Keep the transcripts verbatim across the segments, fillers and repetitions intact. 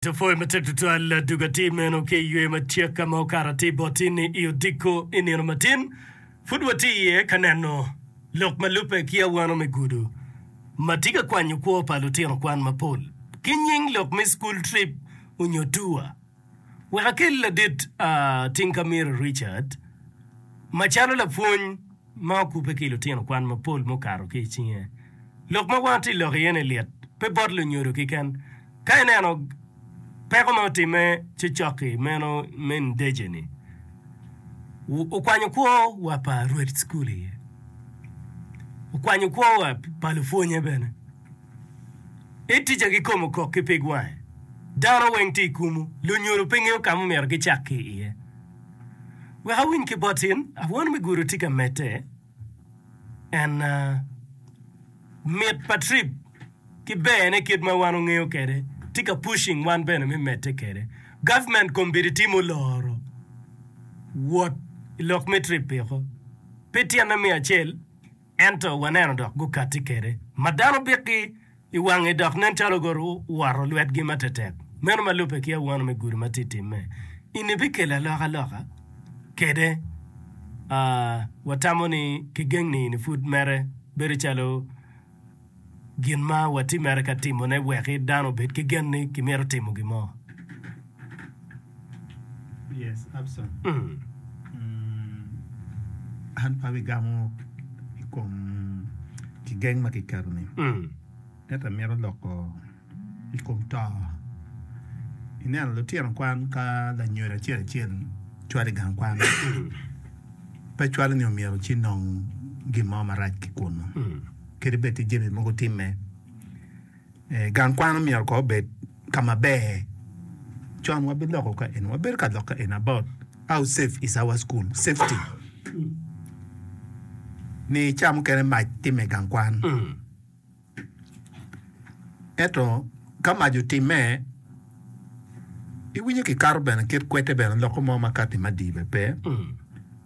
Pwoyo matek tutwal aduga atir meno ki i ywe matyek ka ma okato atir bot-ti-ni i odiko i nino matin. Pud watye iye ka neno lok ma lubbe ki awano me gudo ma tye ka kwanyo kwo pa lutino kwan mapol ki nying lok me school trip onyo tour. Wek akel ladit Tinkamiro Richard macalo lapwony ma okubbe ki lutino kwan mapol mukato ki i cinge. Lok ma wan tye lok iye ni lit pe bot lunyodo keken. Ka ineno peko ma otimme cocok-ki meno me Ndejje-ni, okwanyo kwo wa pa rwed cukul iye, okwanyo kwo wa pa lupwonye bene. I ticca kikome okok ki pig wange, dano weng tye i kumu, lunyodo pe ngeyo ka ma myero gicak ki iye. Wek awiny ki bot in, awano me gudo tye ka medde, en mit pa trip ki berne kit ma wan ongeyo kwede tye ka pushing wan bene me medde kwede. Government kombeddi tye muloro wot i lok me trip piko pe tyene me acel ento waneno dok gukatti kwede ma dano bikgi i wange dok nen calo guwoto lwetgi matetek. Meno ma lubbe ki awano me gudo ma tye timme ini bikelo alokaloka kwede. Watamo ni kigeng ni ini pud mere bedo calo gin ma watye mere ka timone wek dano obed ki gen ni kimito timo gin mo. Yes, Abson. Mm. An pe abigamo i kom kigeng ma kiketo-ni, Mm. ento amito loko i kom to. Ineno lutino kwan ka lanyodo acel acel cwalo i gang kwan, pe cwalo ni omyero ci nong gin mo marac ki kunnu. Kadi bed tye jami mogo timme, gang kwan omyero kong obed ka maber. Con wabiloko ka eni, wabedo ka lok ka eni about how safe is our school, safety. Ni ca mukene mac timme i gang kwan. Ento ka mac otimme, iwinyo kikato bene kit kwete bene loko mo ma kati madii bene pe,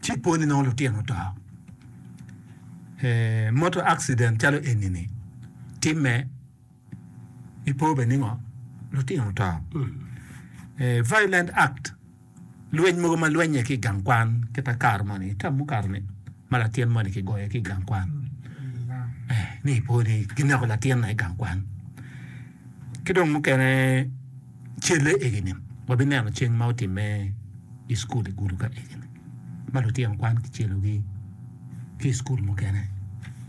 ci ipo ni nongo lutino oto. Motor accident calo eni-ni timme, ipo bene ni ngo? Lutino oto. Violent act. Lweny mogo ma lwenye ki i gang kwan kit akaro moni i tam mukato ni ma latin moni kigoyo ki i gang kwan ni ipo ni kineko latinna i gang kwan ki dong mukene celle egini wabineno ceng ma otimme i cukul i gudo ka egini ma lutino kwan kicelogi ki i cukul mukene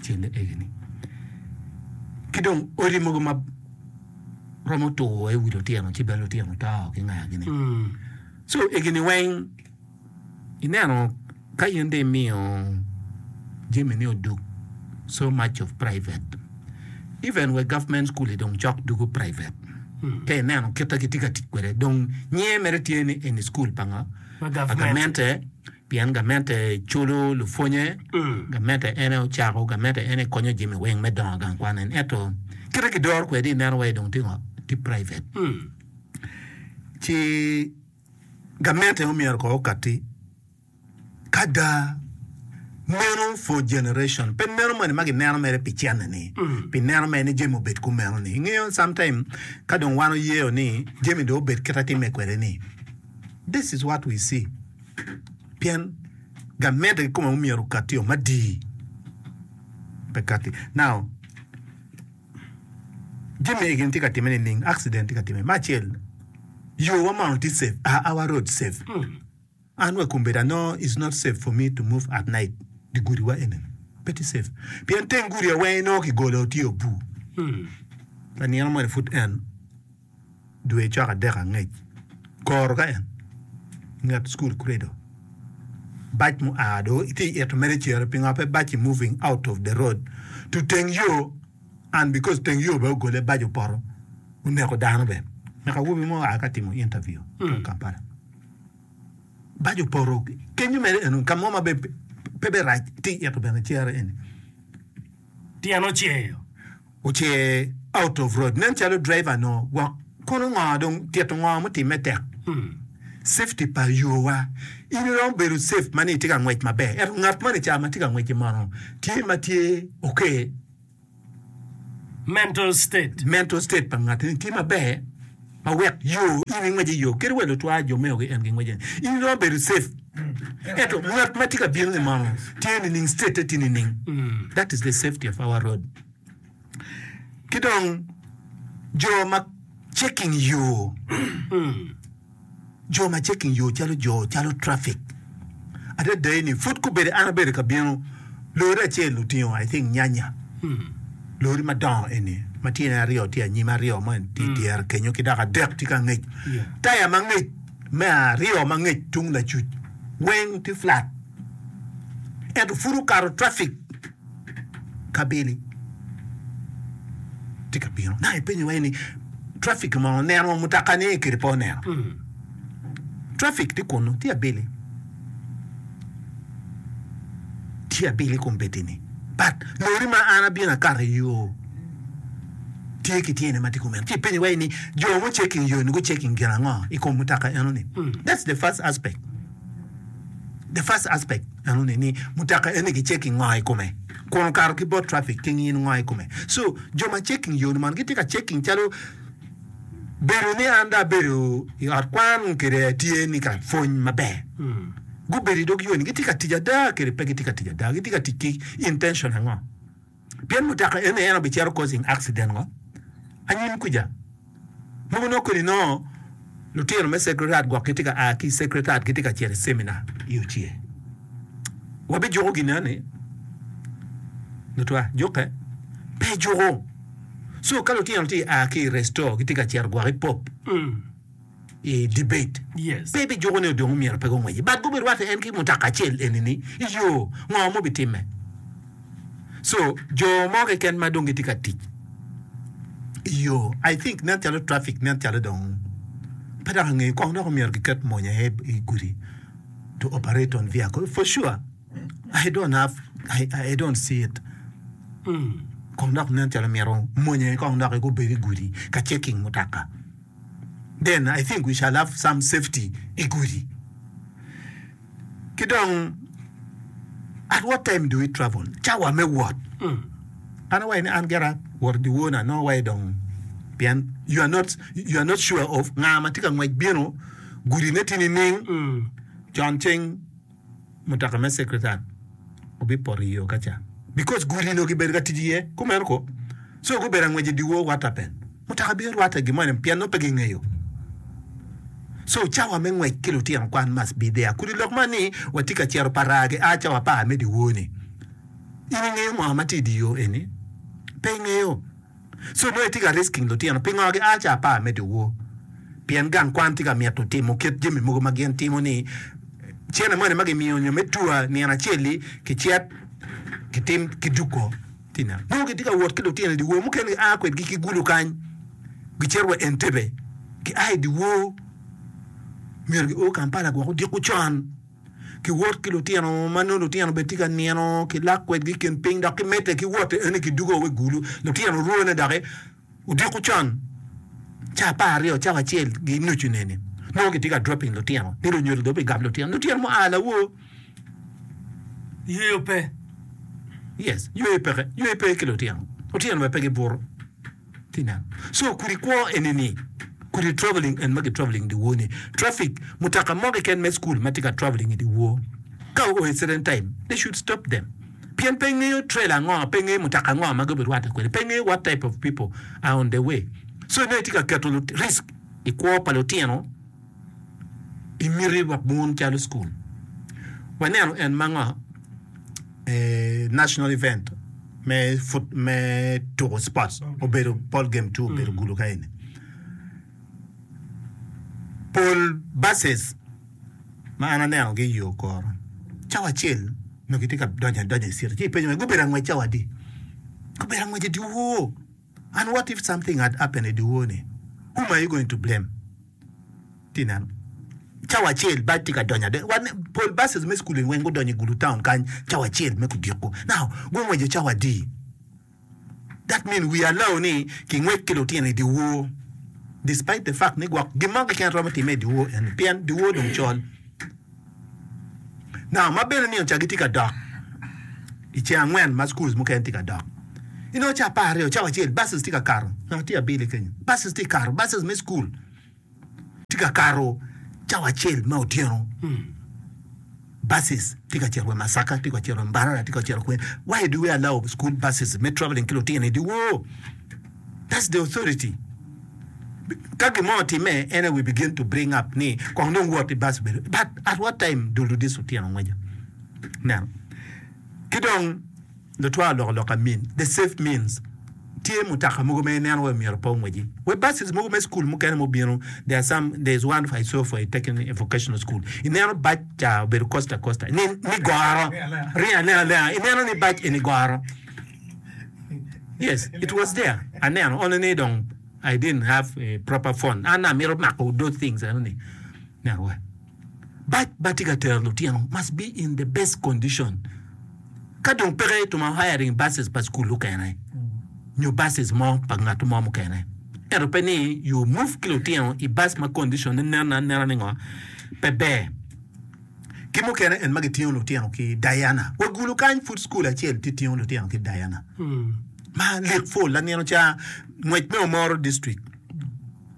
celle egini ki dong odi mogo ma romo tur i wi lutino ci bene lutino to ki ngagi-ni. So egini weng ineno ka in dong imiyo jami ni odug so much of private even wa government school dong cok dugo private ka ineno kit ma gitye ka tic kwede dong nyinge mere tye ni eni school pa ngo? Pa gamente. Pien gamente culo lupwonye, gamente en aye ocako, gamente en aye konyo jami weng me dongo gang kwan en. Ento kite kidoro kwede ineno wai dong tye ngo? Tye private. Ci gamente omyero kong okati ka ada meno for generation pe meno moni ma gineno mere pi cene ni pi neno mere ni jami obed kumeno ni. Ingeyo sometime ka dong wan oyeo ni jami dong obed kite time kwede ni this is what we see. Pien gamente kikome omyero okatti o madii pe katti. Now, jami egi tye ka timme nining? Accident tye ka timme. Me acel, yo wa mono tye safe? Are our roads safe? An wa kombeddi I know it's not safe for me to move at night di gudi wa eni pe tye safe pien teng gudi weng inongo kigolo tye obur. Lanino moni pud en. Dwe cok adek angec, koro ka en nget cukul credo bac mua do itye i ito mere cere pingo pe bac-ci moving out of the road to teng yo and because teng yo bene ogole bac opoto oneko dano bene nek awobi mo oa ka timo interview i Kampala bac opoto kenyo mere eno ka mo ma pe bene rac tye i ito bene cere eni. Tyen oceyo. Ocer out of road nen calo driver no gwok kono ngo dong tito ngo mutimme tek safety pa yo wa in iromo bedo safe ma ni itye ka ngwec maber ento ngat moni ca ma tye ka ngwec-ci mono tye ma tye okay Mental state. mental state pa ngat ni tye maber Ma wek yo in ingwec i yo kadi wa lutwa jo meo-gi en gingweco ni in iromo bedo safe ento ngat ma tye ka bino ni mono tye nining state-te tye nining that is the safety of our road ki dong jo ma checking yo Jo ma checking yo calo jo calo traffic adada ni pud gubedo an abedo ka bino lori acel otingo I think nyanya lori madongo eni ma tyene aryo tye anyim aryo mo tye i dyere kenyo ki dok adek tye ka angec taya ma ngec me aryo ma ngec tung lacuc weng tye flat ento pud okato traffic kabili tye ka bino naka ipenyo wai ni traffic mo oneno mutoka ni kede pe oneno traffic tye kunu tye abili tye abili kombeddi ni but lori ma an abino akato i yo tye ki tyene ma tye kumeno ci ipenyo wai ni jo mu checking yo ni gu checking gin ango i kom mutoka eno ni that's the first aspect the first aspect eno ni ni mutoka eni ki checking ngo i kome kun okato ki bot traffic ki ngino ngo i kome so jo ma checking yo ni man gitye ka checking calo bedo ni an dong abedo i ot kwan kede atye ni ka pwony maber gubedo i dog yo ni gitye ka tic ada kede pe gitye ka tic ada gitye ka tic ki intention ango pien mutoka eni en obicito causing accident ngo anyim kuca Mogo nongo kodi nongo lutino me Sacred Heart gwok gitye ka a ki i Sacred Heart gitye ka cito i ceminar i Ocie. Wabijuko gin eni lutwa jukke pe juko. So ka lutino tye a ki i Restore gitye ka cito gwok i Pop i debate Yes. pe bijuko ni odong myero pe gungweci but gubirwatte en ki mutoka acel eni ni i yo ngo mubitimme. So jo mo keken ma dong gitye ka tic i yo I think nen calo traffic nen calo dong pe dok angeyo kong dok omyero giket mony aye i gudi to operate on vehicle for sure I don't have I, I don't see it kong dok nen calo myero mony aye kong dok gubed i gudi ka checking mutoka then I think we shall have some safety i gudi. Ki dong, at what time do we travel? Cawa me wot. An awaco ni an gira wot dyewor na nongo awaco dong pien you are not, you are not sure of nga ma tye ka ngwec bino, gudi ne tye nining, con ceng mutoka me secretary obipoto i yo ka ca because gudi onongo kibedo ka tic iye kumeno ko so gubedo angwec i dyewor what happened? Mutoka bino rwatte gin moni pien nongo pe gingeyo. So cawa me ngwec ki lutino kwan must be there. Kodi lok man ni watye ka cito pa raa gi a cawa apar me dyewor ni. In ingeyo ngo ma tye i dye yo eni? Pe ingeyo. So nongo itye ka risking lutino. Pingo gi a cawa apar me dyewor? Pien gang kwan tye ka mito timo kit jami mogo ma gin timo ni cene moni ma gimiyo nyo me tour nino acel-li kicit kitim kiduggo. Nongo gitye ka wot ki lutino i dyewor, mukene gia kwedgi ki Gulu kany gicito wa Entebbe, gia i dyewor myero gio Kampala gwok odiko con. Giwot ki lutino ma nongo lutino bene tye ka nino, kilak kwedgi i kin piny dok gimedde ki wot eni gidugo wa i Gulu, lutino orwone doki odiko con ca apar aryo cawa acel ki nucu neni nongo gitye ka dropping lutino ni lunyodo dong bigamo lutino lutino mua lawor. Yweyo pe. Yes, yweyo peke, yweyo pe ki lutino. Lutino bene pe gibuto. Ti neno. So kudi kwo eni ni, kudi traveling en ma gi traveling dyewor ni, traffic, mutoka mo keken me school ma tye ka traveling i dyewor, ka oo i certain time, they should stop them. Pien pe ngeyo trailer ango, pe ngeyo mutoka ango ma gubirwatte kwede, pe ngeyo what type of people are on the way. So inongo itye ka keto risk i kwo pa lutino. I miti wa bun calo cukul, waneno en ma ngo national event me me tuko sports obedo ball game two obedo gulu ka eni. Pol buses ma an aneno gi i yo koro cawa acel nongo gitye ka donyo adonya i city ci ipenyo ni gubedo angwec cawa adi? Gubedo angwec i dyewor and what if something had happened i dyewor ni whom are you going to blame? Tye neno cawa acel bac tye ka donyo adek wa pol buses me cukul weng gudonyo i Gulu town kany cawa acel me kudiko now gungweco cawa adi that mean we allow ni kingwec ki lutino i dyewor despite the fact ni gwok gin mo keken romo time i dyewor eni pien dyewor dong col now ma bene nino ca gitye ka dok i ceng angwen ma schools mukene tye ka dok inongo ca apar aryo cawa acel buses tye ka kato ngat tye abili kenyo buses tye ka kato buses me cukul. Tye ka kato cawa acel me otyeno, buses tye ka cito wa Masaka, tye ka cito wa Mbarara, tye ka cito kwene. Why do we allow school buses me traveling ki lutino i dyewor? That's the authority. Ka gin mo otimme, en aye we begin to bring up ni kong dong wot i bus obedo. But at what time do these lutino ngweco? Neno. Ki dong Lutwa oloko lok amin, the safe means. Tye mutoka mogo ma ineno wai myero pe ongweci. Wa buses mogo me school mukene mubino, there are some, there is one I saw for a taking a vocational school. Ineno bac ca obedo coaster coaster ni, ni goro, ringo alenga alenga, ineno ni bac eni goro. Yes, it was there. Aneno, only ni dong I didn't have a proper phone. An amito mako those things eno ni. Neno wa. Bac ma tye ka tero lutino must be in the best condition. Ka dong peke to ma hiring buses pa cukul okene nyo buses mo pa ngat mo mukene. Ento pe ni you move ki lutino i bus ma condition ne nen anena ni ngo pe ber. Ki mukene en ma gitingo lutino ki Diana. Wa gulu kany pud cukul acel tye tingo lutino ki Diana. Ma lik full lanino ca ngwec me Omoro district.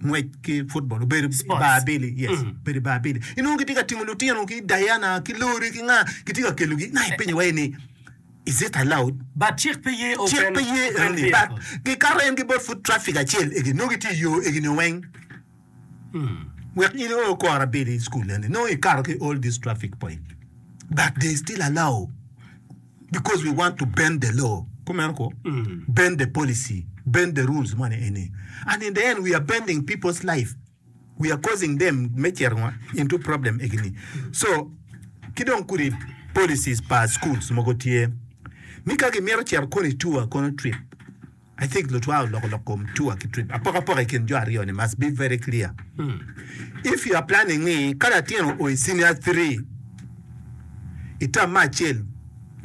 Ngwec ki football obedo i bar abili, yes, obedo i bar abili. Inongo gitye ka tingo lutino ki Diana ki Lori ki nga, gitye ka kelogi. Na ipenyo wai ni, is it allowed? But cik pe ye Cik open pe ye open enoni. But vehicle. gikato en ki bot foot traffic acel egi, nongo gitye i yo egini weng. Wek in io kor abili i school eni, nongo ikato ki all this traffic point. But they still allow. Because we want to bend the law, kumeno ko, bend the policy, bend the rules moni eni. And in the end we are bending people's life, we are causing them me cito ngo into problem egini. So ki dong kodi policies pa schools mogo tye ni ka gimito cito kono i tour kono trip, I think lutwa oloko lok kom tour ki trip. Apokapoka i kin jo aryo ni must be very clear. If you are planning ni ka latin o i senior three i term me acel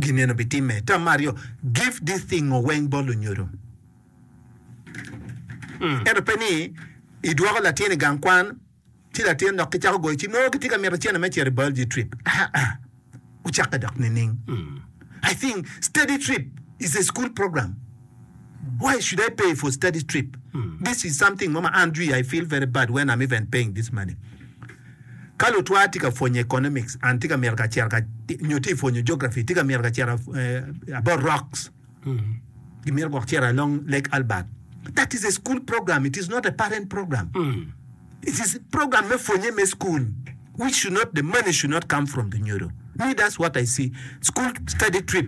gin eno bitimme, term me aryo give this thing o weng bot lunyodo. Ento pe ni idwoko latin i gang kwan Ci latin dok kicako goyo cim, nongo gitye ka mito cene me cito i biology trip. Aa, ocakke dok nining? I think study trip is a school program. Why should I pay for study trip? This is something mo ma an jwi I feel very bad when I'm even paying this money. Ka lutwa tye ka pwonyo economics and tye ka mito ka cito ka nyo tye ka pwonyo geography tye ka mito ka cito eh, about rocks gimito gwok cito along Lake Albert. That is a school program, it is not a parent program. It is program me pwonye me school which should not the money should not come from the nyodo. Me that's what I see. School study trip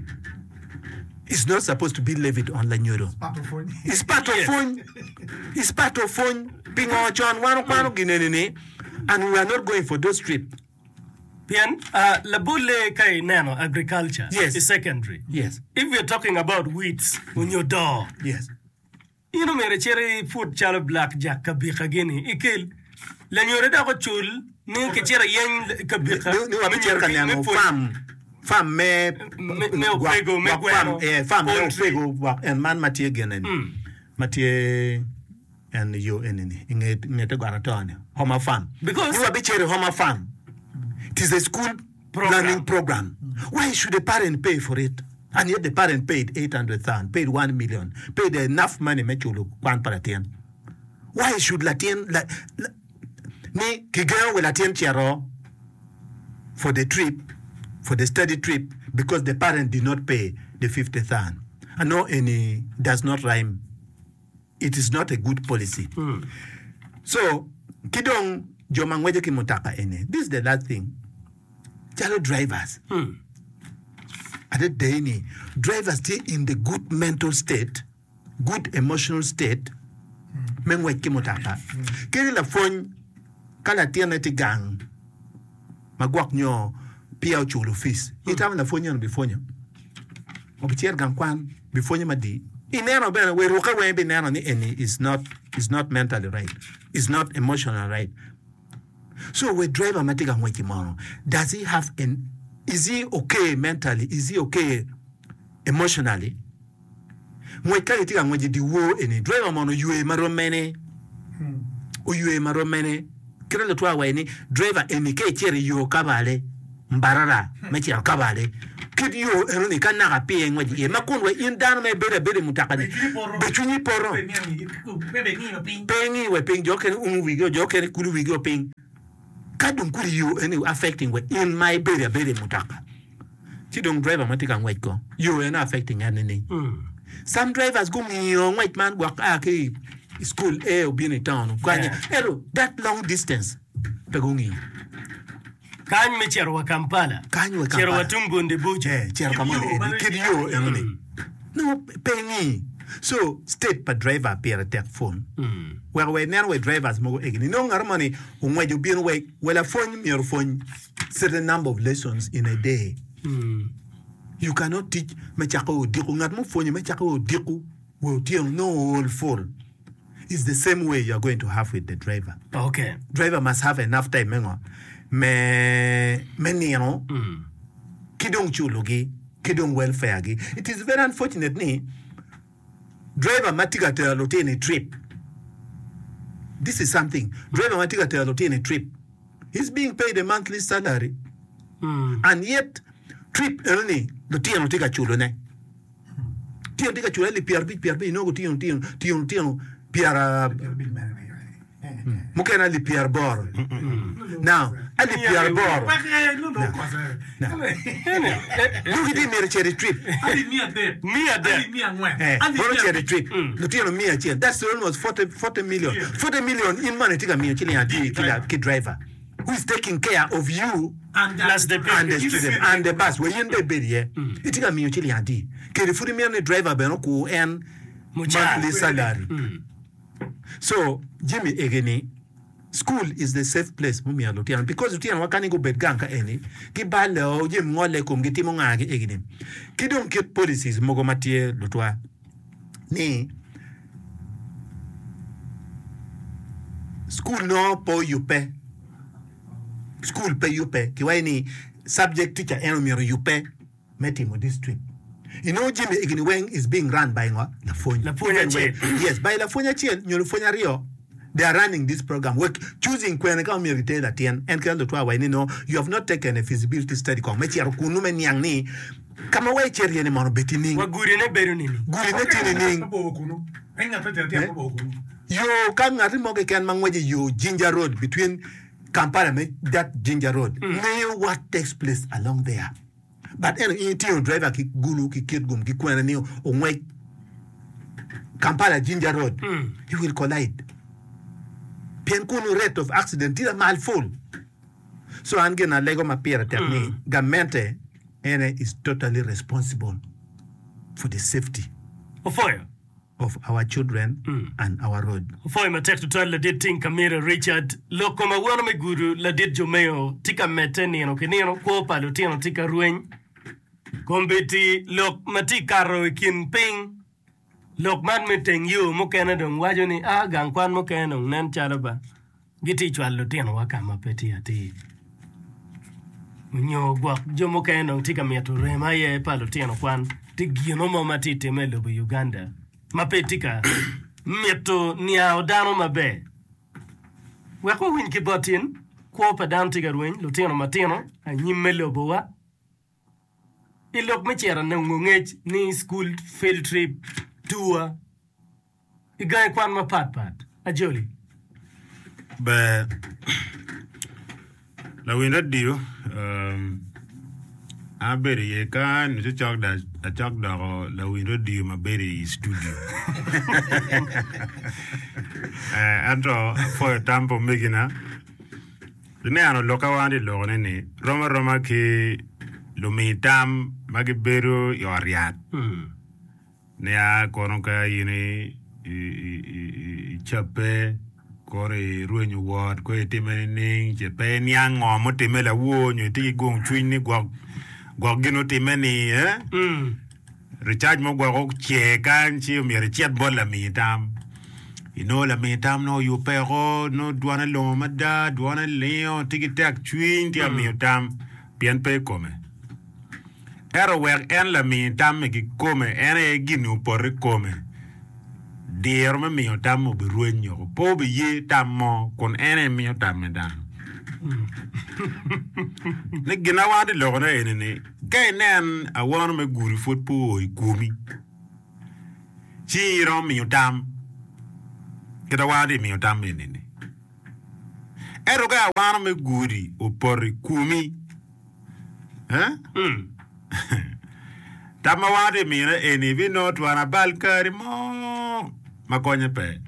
is not supposed to be levied on lanyodo. It's part of pwony. It's part of pwony. Pingo con wan okwano gin eni ni and we are not going for those trip. Pien labolle ka ineno agriculture Yes. i secondary, Yes. if we are talking about weeds onyo doo, Yes. In omyero icit iput calo Black Jack kabika gini ikel lanyodo dok ocul ni kicit iyeny kabika Ni wabicito ka neno farm farm me me opego me gweno eh, farm me poultry. opego gwok en man ma tye gene ni ma tye en yo eni ni inge nge te got ato ni Homa farm. Because- Ni wabicito i Homa farm. It is a school Program. learning program. Why should a parent pay for it? And yet the parent paid eight hundred thousand, paid one million, paid enough money me culo kwan pa latin. Why should latin la, la, ni kigengo wi latin cito for the trip, for the study trip because the parent did not pay the fifty thousand? Ano eni does not rhyme. It is not a good policy. So, ki dong jo ma ngweco ki mutoka eni, this is the last thing. Calo drivers, adada ni drivers tye in the good mental state, good emotional state me ngwec ki mutoka. Kadi lapwony ka latinne tye gang ma gwok nyo peya oculo fees, itamo lapwony eno bipwonyo? Obicito gang kwan bipwonyo madii? Ineno bene wa irukke weng ibineno ni eni is not is not mentally right, is not emotionally right. So we driver ma tye ka ngwec-ci mono, does he have an, is he okay mentally, is he okay emotionally? Ngwec ka gitye ka ngwec i dyewor eni, driver mono oywe ma rom mene? Oywe ma rom mene? Kite lutwa waci ni driver eni ka icito i yo Kabale, Mbarara me cito Kabale, Kit yo enoni ka naka pii engwec iye ma kun wa in dano ma ibedo abeda i mutoka-ni be cwinyi poto. Pe ingi wa piny, jo okene umo wigi o, jo okene kulo wigi o piny. Ka dong kudi yo eni affecting wa in ma ibedo abeda i mutoka, ci dong driver ma tye ka ngwec ko yo eno affecting en nining? Some drivers gungiyo ngwec man gwok a ki i school A obino i town okanye ento that long distance pe gungiyo. Kany me cito wa Kampala. Kany wa Cito wa Kampala. tung Bundibugyo. Eh, cito ka moni eni, kit yo enoni. Nongo pe ingi. So, state pa driver pire tek pwony. Weko wa ineno wa drivers mogo egini. Nongo ngat moni ongweco obino wa wa lapwony myero opwony certain number of lessons in a day. You cannot teach me cako odiko. Ngat mupwonyo me cako odiko wa otyeno nongo ool full. It's the same way you are going to have with the driver. Okay. Driver must have enough time me ngo? Me me nino ki dong culogi ki dong welfare gi. It is very unfortunate ni driver ma tye ka tero lutino i trip, this is something, driver ma tye ka tero lutino i trip, he's being paid a monthly salary and yet trip eno ni lutino tye ka culone. Tyen tye ka cule alip pyerabic pyerabic inongo tyen tyen tyen tyen pyera mukene alip pyeraboro now alip pyeraboro nongo gitye myero ocit i trip eh mono ocito i trip lutino miya acel that's almost forty forty million forty million in mono itye ka miyo ciling adi ki driver who is taking care of you Plus the and the student and the bus wa in bene ibedo iye itye ka miyo ciling adi kede pud imito ni driver bene okur en Mucara. monthly salary so jami egi ni school is the safe place mumiyo lutino because lutino wa kani gubed gang ka eni gibale o jami ngole i komgi timo nga gi egi ni ki dong kit policies mogo ma tye lutwa ni school nongo pe oyubbe Cukul pe yubbe. Kiwaco ni subject teacher en omyero oyubbe me timo this trip. Inongo jami egini weng is being run by ngo? Lapwony. Lapwony acel. Yes, by lapwony acel nyo lupwony aryo they are running this program wek choosing kwene ka omyero giter latin. En kit lutwa waco ni no you have not taken a feasibility study kong me cito kunu me niang ni ka ma wa icito iye ni mono obed nining? Wa gudi ne bedo nining? Gudi ne tye nining? Yo ka ngati mo keken ma ngweco i yo Jinja Road between Kampala me that Jinja Road ngeyo what takes place along there but ento in itingo driver ki Gulu ki Kitgum ki kwene ni ongwec Kampala Jinja Road he will collide pien kunu rate of accident tye lamal full so an gin alego ma pire tek ni gamente ene is totally responsible for the safety Opwoyo. of our children and our road. Opwoyo matek tutwal ladit Ting Kamira Richard. Lok kom awano me gudo ladit Jomeo tye ka medde nino ki nino. Kwo pa lutino tye ka rweny. Kombeddi lok ma tye kato i kin piny, lok man me teng yo mukene dong waco ni a gang kwan mukene dong nen calo ba gitye cwalo lutinowa ka ma pe tye atir. Nyo gwok jo mukene dong tye ka mito rem aye pa lutino kwan. Tye gino mo ma tye timme i lobo Uganda ma pe tye ka mito niango dano maber. Wek wawiny ki bot in, kwo pa dano tye ka rweny, lutino matino, anyim me lobowa. I lok me cito nongo ngec ni school field trip, tour, i gangi kwan mapat pat. Ajoli. Ber, lawiny radio, an abedo iye kany nyo cok acok doko lawiny radio ma bedo i studio. Ento apwoyo tam pa omegina. Ineno lokke wan tye loko-ne ni rom aroma ki lumi tam ma gibedo i ot yat. Nia kono ka in icabbe, kono irwenyo wot, kono itime nining, ce pe iniang ngo mutimme lawor nyo itye ki gung cwiny ni gwok gwok gin otimme ni eh? Ricac mo gwok ocer kany ci myero icit bot lami tam. Inongo lami tam nongo oyubbe oko, nongo dwane longo mada, dwane lingo, tye ki tek cwiny tye ka miyo tam pien pe i kome. Ento wek en lami tamme kikome, en aye gin opoto i kome, diro me miyo tamme obirweny woko. Pe obiye tam mo kun en aye miyo tamme dano. Ni gin ma wan tye lokone eni ni ka inen awano me gudi pud pe oo i komi ci iromo miyo tam kita wan tye miyo tam eni ni ento ka awano me gudi opoto i komi eh? Tam ma wan tye mine eni binongo twon abal kari mo ma konye pe.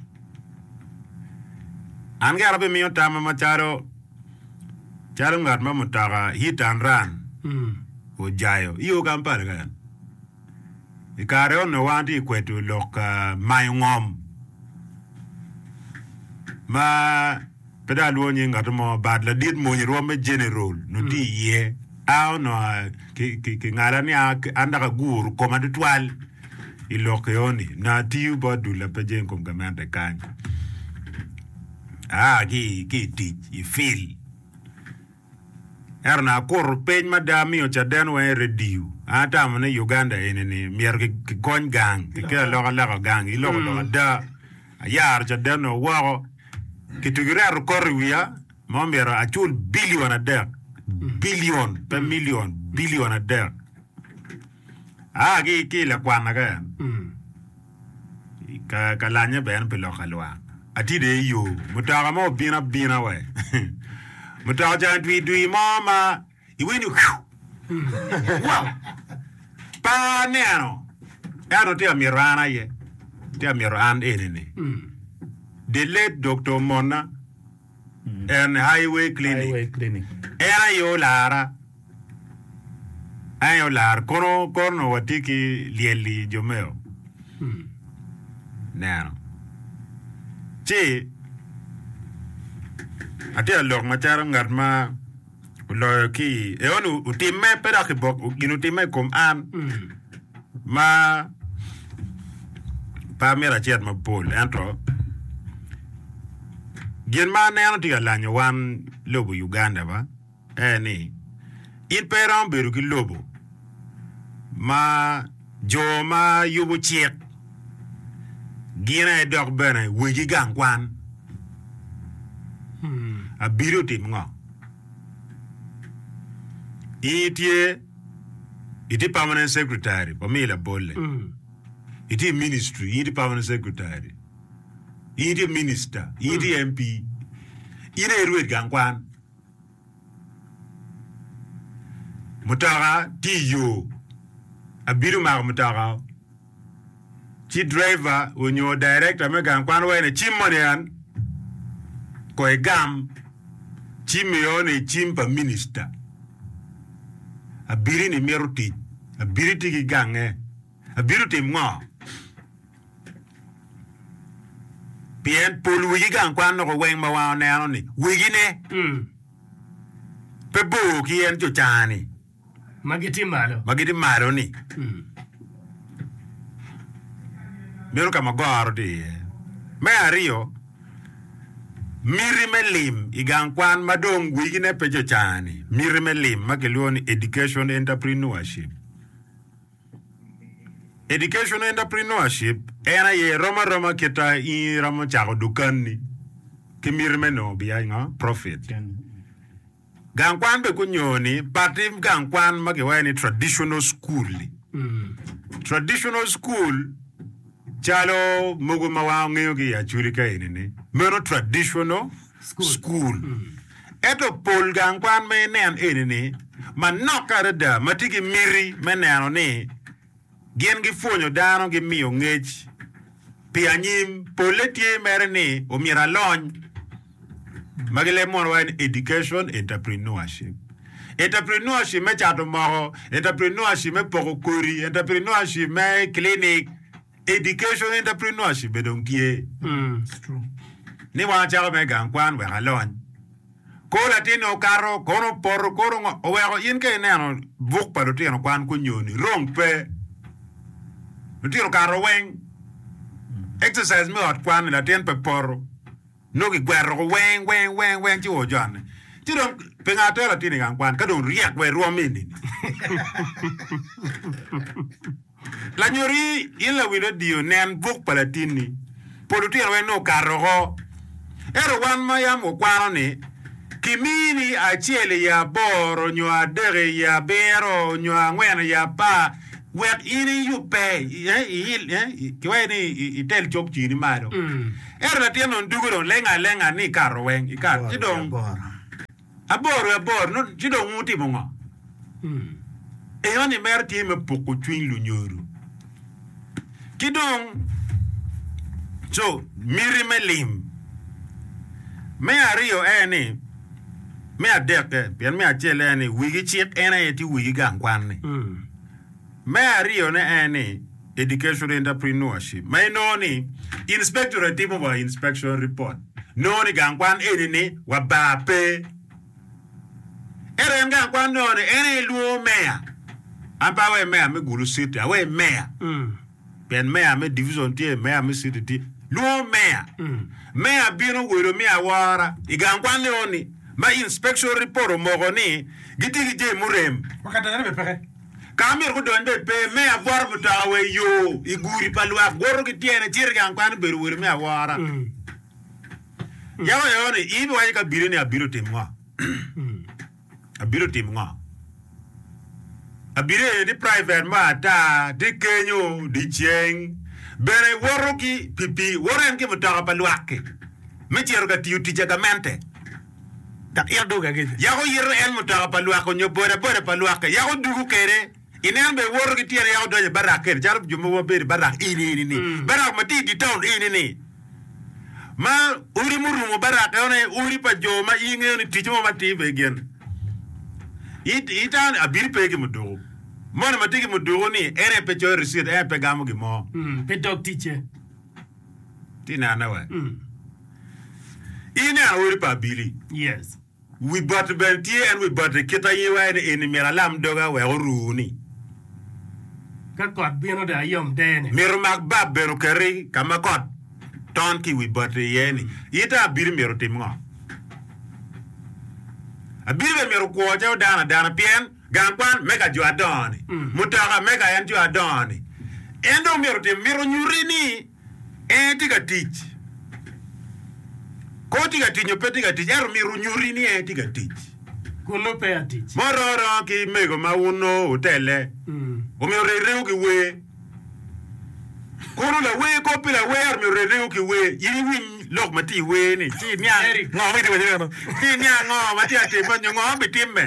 An gire abimiyo tamma macalo calo ngat ma mutoka hit and run ojayo iyo Kampala kany. I kare onongo wan tye kweto lok mayo ngom ma pe dong alwongo nying ngat mo but ladit mony rwom me general onongo tye iye a onongo kingala ni an dok aguro koma tutwal i lok eno-ni onongo atiyo bot dul ma pe jenge i kom gamente kany aa ki i tic i field ento onongo akuto piny mada amiyo caden weng i radio an atamo ni Uganda eni-ni myero kigony gang kikel alokaloka gang iloko lok ada ayaro caden-nu woko kitugi reto kot i wiya ma myero acul bilion adek bilion pe milion bilion adek aa ki ki i lakwana ka ka ka lanye bene pi lok alwak atye dong i yo mutoka mo obino abina we mutoka ocako dwi dwi mo ma iwinyo wow pe aneno ento tye ka mito an aye tye ka mito an eni-ni the late Dr. Monna en Highway Clinic Highway Clinic. en aye olara en aye olara kono kono watye ki lyel-li jo meo neno ci atye ka lok macalo ngat ma oloyo ki eoni otimme pe dok kibok gin otimme i kom an ma pe amito acit mapol ento gin ma aneno tye ka lanyo wan lobo Uganda ba en ni in pe iromo bedo ki lobo ma jo ma yubo cik gin aye dok bene wegi gang kwan abili otim ngo in itye itye permanent secretary wamiyi labolle itye i ministry in itye permanent secretary in itye minister in itye MP in aye irwed gang kwan mutoka tye i yo abili omako mutoka ci driver onyo director me gang kwan waco ni cim moni en ko igam cim eno-ni cim pa minister abili ni mito tic abili tye ki gange abili otim ngo pien pol wegi gang kwan dok weng ma wan oneno ni wegine pe bor ki en co-cani Ma gitye malo. ma gitye malo-ni meno ka ma goro tye iye. Me aryo, miti me lim i gang kwan ma dong wegine pe co-cani, miti me lim ma kilwongo ni education entrepreneurship. Education entrepreneurship en aye rom aroma kita in iromo cako dukanni ki miti me nongo biya ngo profit. Gang kwan bene kunyo ni pati gang kwan ma kiwaco ni traditional school-li. Traditional school calo mogo ma wan wangeyo ki i Acholi ka eni-ni meno traditional school. Ento pol gang kwan ma inen eni-ni manok adada ma tye ki miti me neno ni gin gipwonyo dano gimiyo ngec pi anyim polle tye mere ni omyero alony ma gileb mono waco ni education entrepreneurship. Entrepreneurship me cato moko, entrepreneurship me poko kodi, entrepreneurship me clinic, education entrepreneurship bene dong tye. Ni wan wacako me gang kwan wek alony. Ko latin okato, kono opoto, kono ngo, oweko in ka ineno buk pa lutino kwan kunyo ni rong pe. Lutino okato weng. Exercise me ot kwan ni latin pe poto. Nongo kigwero ko weng weng weng weng ci ojone. Ci dong pingo atero latin i gang kwan ka dong ryek wa irwom eni. Lanyori in lawil radio nen buk pa latinni. Pol lutino weng nongo okato oko. Ento wan ma yam wakwano ni Kimini acel i aboro nyo adek i abiro nyo angwen i apar wek in iyubbe kiwaco ni itel cok cini malo. Ento latin dong dugo dong leng alenga ni ikato weng ikato ci dong aboro aboro ci dong wutimo ngo? Enoni mere tye me puko cwiny lunyodo. Ki dong co miti me lim. Me aryo en ni, me adekke, pien me acel en ni wigi cik en aye tye wigi gang kwan-ni. Me aryone en ni education entrepreneurship ma inongo ni inspectorate timo wa inspection report nongo ni gang kwan eni ni wa bar pe. Ento en gang kwan nongo ni en aye lwongo meya. An pe aweyo meya me Gulu City, aweyo meya. Pien meya me division tye, meya me city tye. Lwongo meya. Meya bino welo me awora i gang kwan leo ni ma inspection report omoko ni gitye ki jami murem. Ka myero gudony bene pe, meya bwoto mutoka wa i yo i gudi pa lwak, woto ki tyene cito i gang kwan obedo welo me awora. Yako eo ni in ibiwaco ki abili ni abili otim ngo? Abili otim ngo? Abili eni tye private mo ata, tye kenyo dyeceng bene woto ki pikipiki, woto en ki mutoka pa lwak-ki me cito ka tiyo tic a gamente. Dok ito dwogo ageca. Yako yito en mutoka pa lwak onyo bodaboda pa lwak-ki, yako dugo kwede. Ineno bene woto ki tyene yako donyo i barak kede calo jo mogo ma bedo i barak eni eni ni, barak ma tye i dye taun eni ni. Ma odi murumo barak eno aye odi pa jo ma in ingeyo ni ticce mo matir pe gin. Itamo ni abili pe ki muduku. Moni ma tye ki muduku ni en aye pe coyo ricit, en aye pe gamo gin mo. Pe dog ticce. Tye inene wa? In ineno odi pa abili. Yes. Wi bati bene tye, en wi bati kit aye iwaco ni eni myero alam doga wek oru ni. Ka kot bino dong ayom dene. Myero omak bab bene oketi ka ma kot ton ki i wi bati iye ni. Ita abili myero otim ngo? Abili bene myero okwo calo dano adana pien gang kwan me ka jo adongo ni, mutoka me ka en jo adongo ni. En dong myero otim, myero onyuti ni En tye ka tic. Kor tye ka tic nyo pe tye ka tic, ento myero onyuti ni en tye ka tic. Kun nongo pe atic. Mo rom aroma ki mego ma wun nongo wutelle, omyero orit ringo ki wer. Kono lawer kop pi lawer, ento myero orit ringo ki wer. In iwiny lok ma tye i wer-ni, ci iniang Ngo ma itye ka wacone eno? ci iniang ngo ma tye ka timme nyo ngo ma bitimme.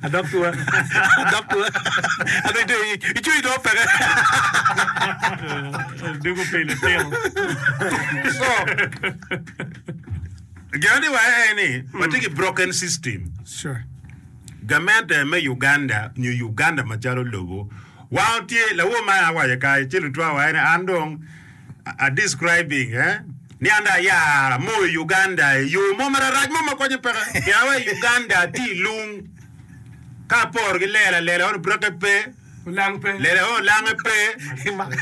Adok tua, adok tua, adok tua, icwiny dong peke. Dugo pi litino. So, gin ma tye waco aye ni watye ki broken system. Sure. Gamente me Uganda nyo Uganda macalo lobo wan tye lawor ma awaco kany ci lutwa waco ni an dong a describing eh ni an dong ayaro amoyo Uganda i yo mo mararac mo ma konye peke pien awaco Uganda tye i lung ka aporo ki lela lela ono breke pe Olang pe. lela ono olange pe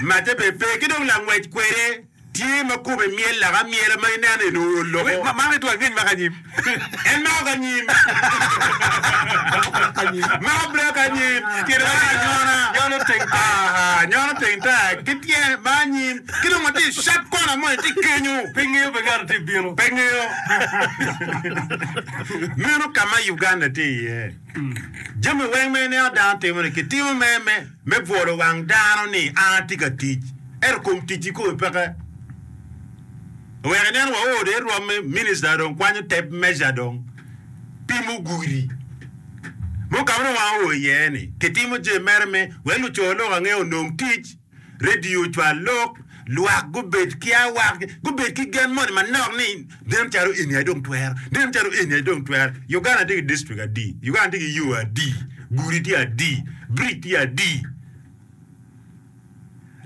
macce bene pe ki dong langwec kwede tye ma kome myel laka amyela ma ineno eni ool loko. Ma- Mako itwa angec mako anyim. En mako ka nyim. Mako brek anyim. Tyene ma anyona. Nyono teng taya. Aha, nyono teng taya ki tyene ma anyim. Ki dong watye i sharp corner moni tye kenyo. Pe ngeyo be ngato tye bino. Pe ngeyo. Meno ka ma Uganda tye iye. Jami weng ma ineno dano timo-ni, kitimo me me me bwolo wang dano ni an atye ka tic, ento kom tic kikome peke. Wek inen wa oo dong irwom me minista dong kwanyo tape measure dong pimo gudi. Mo ka ma dong wan oo iye ni kitimo jami mere me wek luco lok ange onong tic, radio ocwal lok, lwak gubed ki awak, gubed ki gen moni manok ni nen calo eni aye dong twero, nen calo eni aye dong twero. Uganda tye ki district adi? Uganda tye ki yo adi? Gudi tye adi? Bridge tye adi?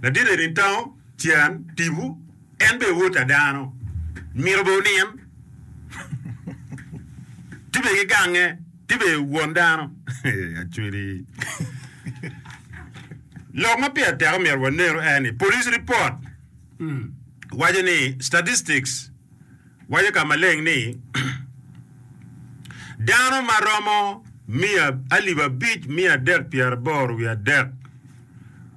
Ladit eni tango cen tipo en bene wod ta dano mito bene onin tye bene ki gange tye bene won dano acwali lok ma pire tek omyero wanenu en ni police report waco ni statistics waco ka maleng ni dano ma romo miya alip abic miya adek pyeraboro wiye adek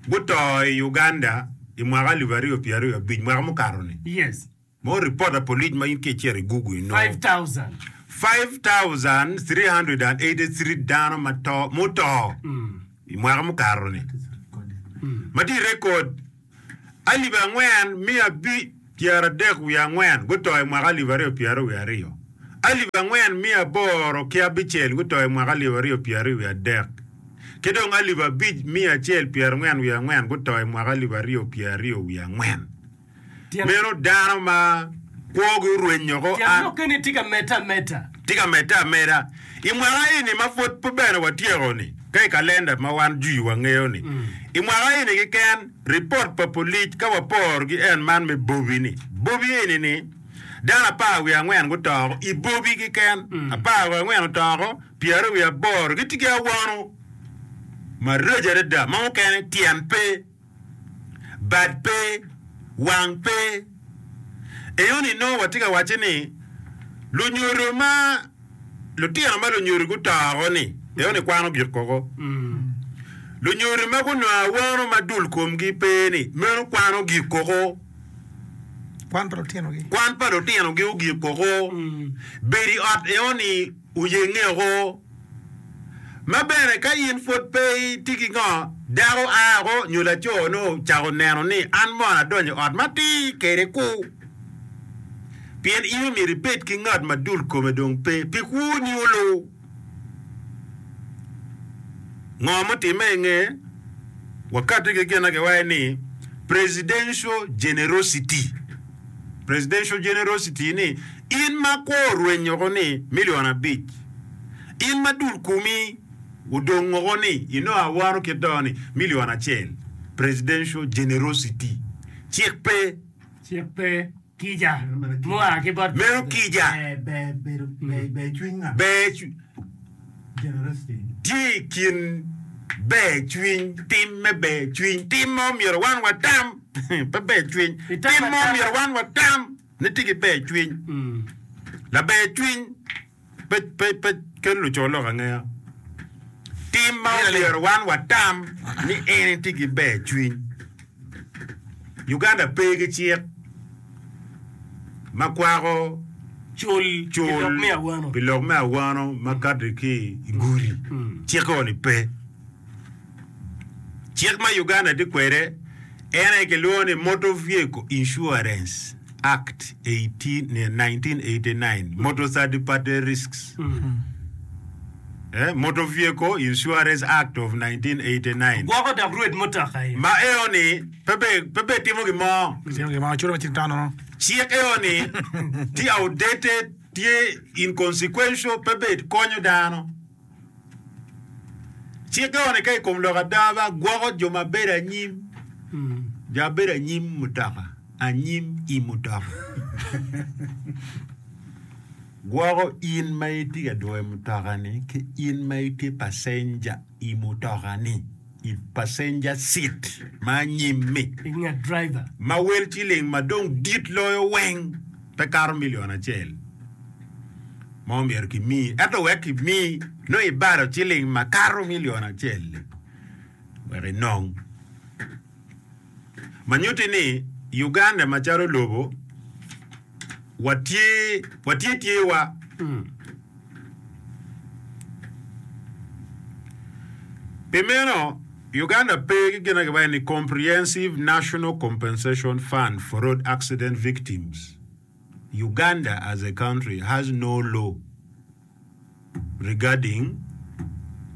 guto i Uganda i mwaka alip aryo pyeraryo abic mwaka mukato-ni. Yes. Mo ripot pa polic ma in ka icito i Google inongo. Five thousand. Five thousand three hundred and eighty three dano ma to muto i mwaka mukato-ni ma tye i rekod alip angwen miya abic pyeradek wiye angwen guto i mwaka alip aryo pyeraryo wiye aryo, alip angwen miya aboro ki abicel guto i mwaka alip aryo pyeraryo wiye adek, ki dong alip abic miya acel pyerangwen wiye angwen guto i mwaka alip aryo pyeraryo wiye angwen. Meno dano ma kwogi orwenyo oko. Tyen lokke ni tye ka medde ameda. Tye ka medde ameda. I mwaka eni ma pwod pe bene watyeko-ni, ka i kalenda ma wan jwi wangeyo-ni, i mwaka eni keken, ripot pa polic ka waporo ki en man me Bobi-ni, Bobi eni-ni, dano apar wiye angwen guto oko i Bobi keken, apar wiye angwen oto oko, pyeraryo wiye aboro gitye ki awano maraco adada ma mukene tyen pe. bad pe, wang pe. Eyoni nongo watye ka wacce ni lunyodo ma lutino ma lunyodo guto oko ni eyoni kwan ogik koko. Lunyodo ma gunongo awano ma dul komgi pe ni meno kwan ogik koko. Kwan pa lutinogi. Kwan pa lutinogi ogik koko. Bedo i ot eyoni oyenge oko. Ma bene ka in pwod pe itye ki ngo, dako a oko nyo laco nongo ocako neno ni an mono adonyo i ot matir kede ku. Pien in omyero ibed ki ngat ma dul kome dong pe pi kwoni olu. Ngo mutimme i nge? Wakati ki gin ma kiwaco ni presidential generosity. Presidential generosity ni in ma kwo orweny oko ni million abic. In ma dul komi odong woko ni inongo awano kit to ni million acel. Presidential generosity. Cik pe. Cik pe. Kica mua ki bot Meno kica. Ber tye i kin ber cwiny, tim me ber cwiny, tim ma omyero wan watam, pe ber cwiny, tim ma omyero wan watam ni tye ki ber cwiny. Laber cwiny pe, pe, pe kelo luco lok angeya. Tim ma omyero wan watam ni en tye ki ber cwiny. Uganda pe ki cik ma kwako cul pi lok me awano ma kati ki i gudi. Cik-ni pe. Cik ma Uganda tye kwede en aye kilwongo ni Motor Vehicle Insurance Act nineteen eighty-nine, Motor Third Party Risks, Motor Vehicle Insurance Act of nineteen eighty-nine. Gwoko dok rwed mutoka aye. Ma eo-ni pe be timo gin mo. Cik eo-ni tye outdated, tye inconsequential, pe be konyo dano. Cik eo-ni ka i kom lok ada ba gwoko jo ma bedo anyim, jo ma bedo anyim mutoka, anyim i mutoka. Gwoko in ma itye ka dwoyo mutoka-ni ki in ma itye pacenja i mutoka-ni, i passenger seat ma anyim-mi, I nget driver. ma wel ciling ma dong dit loyo weng pe kato milion acel ma omyero kimi. Ento wek kimi, nongo ibalo ciling ma kato milion acel-li wek inong. Ma nyutti ni Uganda macalo lobo watye watye tyewa. Pi meno, Uganda pe ki gin ma kiwaco ni Comprehensive National Compensation Fund for Road Accident Victims. Uganda as a country has no law regarding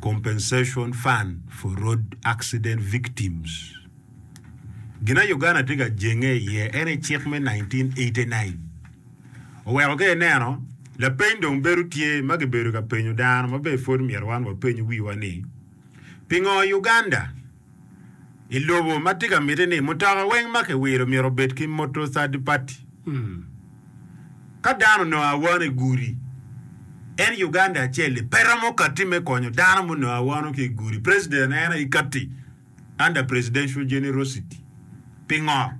compensation fund for road accident victims. Gin ma Uganda tye ka jenge iye en aye cik me nineteen eighty-nine. Oweko ka ineno, lapeny dong bedo tye ma kibedo ka penyo dano ma bene pwod myero wan wapeny wiwa ni, Pingo Uganda i lobo ma tye ka miti ni mutoka weng ma kiwilo myero obed ki motor third party? Ka dano onongo awano i gudi, en Uganda acel-li pe romo katti me konyo dano munongo awano ki i gudi. President en aye katti under presidential generosity. Pingo?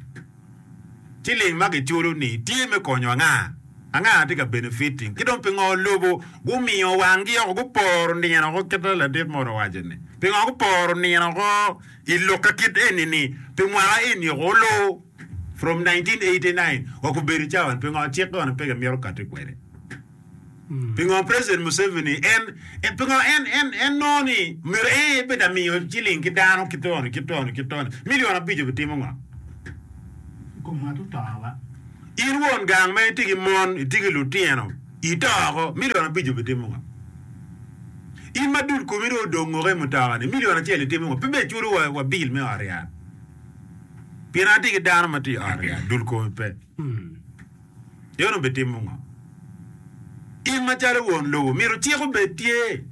Ciling ma kiculo-ni tye me konyo anga? Anga tye ka benefiting? Ki dong pingo lobo gumiyo wanggi oko guporo nino oko kit ma ladit moni owaco-ni? Pingo guporo nino oko i lok ka kit eni-ni pi mwaka eni oko olu? From nineteen eighty nine wa gubedo cawa ni pingo cik kono pe gimito kati kwede. Pingo President Museveni en pingo en en en nongo ni myero en aye bed amiyo ciling ki dano ki toni ki toni ki toni million abic obitimo ngo? In won gang ma itye ki mon itye ki lutino ito oko million abic obitimo ngo? In ma dul komi dong odong oko i mutoka ni million acel itimo ngo? Pe bene iculo wa, wa bill me ot yat. Pien atye ki dano ma tye i ot yat dul komi pe. En obitimo ngo? In macalo won lobo myero cik obed tye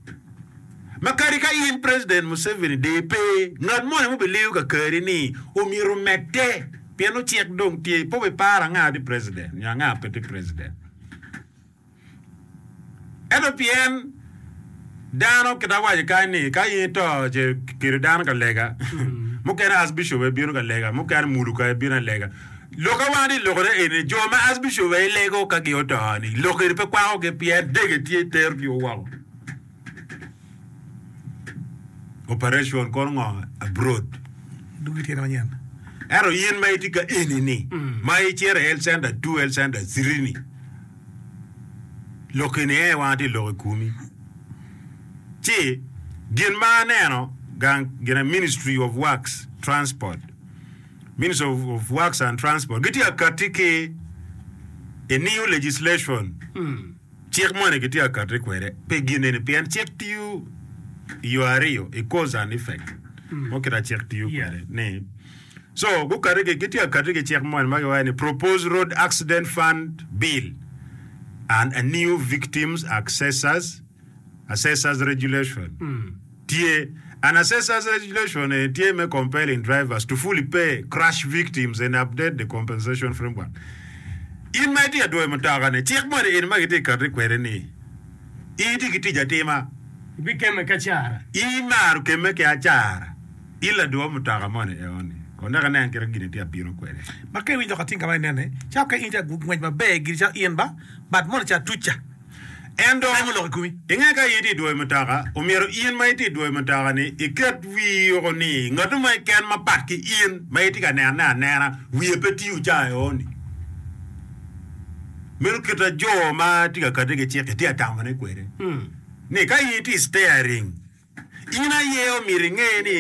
ma kadi ka in President Museveni dong ipe, ngat moni ma obiliyo kakari ni omyero omedde pien nongo cik dong tye pe obiparo anga tye president nyo anga pe tye president. Ento pien dano kit awaco kany ni ka in ito ce kelo dano ka lega, mukene Archbishop aye bino ka lega, mukene muluka aye bino alega. Lok a wan atye lokone eni jo ma Archbishop aye lego ka gi oto ni lok eni pe kwakogi pien dege tye terogi woko. Operation kono ngo abroad. Dugi tyene manyen. Ento in ma itye ka eni ni ma icito i health center two, health center three ni lok eni aye wan atye lok i komi. Ci gin ma aneno gang gine Ministry of Works Transport, Ministry of, of Works and Transport gitye ka katti ki a new legislation. Cik moni gitye ka katti kwede pi gin eni pien cik tiyo i yo aryo i cause and effect mo kit ma cik tiyo kwede ni so gukati ki gitye ka katti ki cik moni ma giwaco ni proposed road accident fund bill and a new victims accessors assessors regulation tye an assessors regulation eni tye me compelling drivers to fully pay crash victims and update the compensation framework. In ma itye ka dwoyo mutoka ni, cik moni eni ma gitye ka kati kwede ni, in itye ki tic atima. Ibikemme ki acara. In imaro kemme ki acara. In ladwo mutoka moni eoni, kono dok inen kit ma gin itye ka bino kwede. Ma ka iwinyo lok atinga ma inene, calo ka in itye ka ngwec maber giri calo in ba, but moni ca tuca. En dong, inge ka in itye i dwoyo mutoka, omyero in ma itye i dwoyo mutoka-ni iket wii woko ni ngat mo keken mapat ki in ma itye ka nenone anena wiye pe tiyo ca eoni. Meno kit a jo ma tye ka kati ki cik-ki tye ka tamone kwede ni ka in itye i steering, In aye omyero inge ni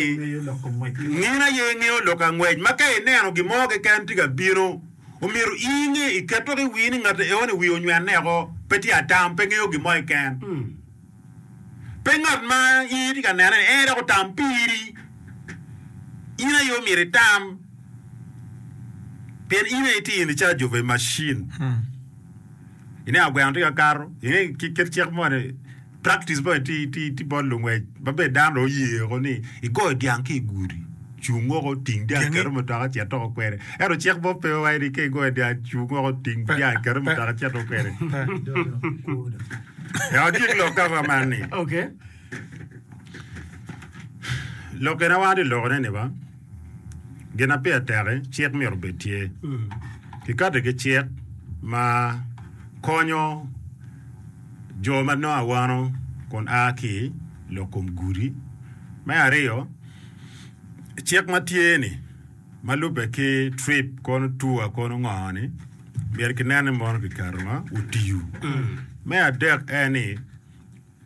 in aye ingeyo lok angwec ma ka ineno gin mo keken tye ka bino, omyero in inge iket woko i wii ni ngat eoni wiye onywenne oko, pe tye atam, pe ngeyo gin mo keken. Pe ngat ma in itye ka nene ni en dok otam piri. In aye omyero itam pien in aye itye in charge of a machine. Ineno gweno tye ka kato, inge kit cik moni. Practice mo tye tye bot lungwec ma bene dano dong oye woko ni igoyo dyang ki i gudi, cung woko ting dyang iketo i mutoka cit woko kwede. Ento cik mo pe waco ni ka igoyo dyang cung woko ting dyang iketo i mutoka cit woko kwede. Wek agik lok ka man ni, lok eni wan watye ka lokone ni ba gin ma pire tek-ki cik myero obed tye. Kikati ki cik ma konyo Jo ma nongo awano kun a ki i lok kom gudi. Me aryo, cik ma tye-ni ma lubbe ki trip kono tour kono ngo-ni myero kinen ni mono kiketo ma otiyo. Me adek en ni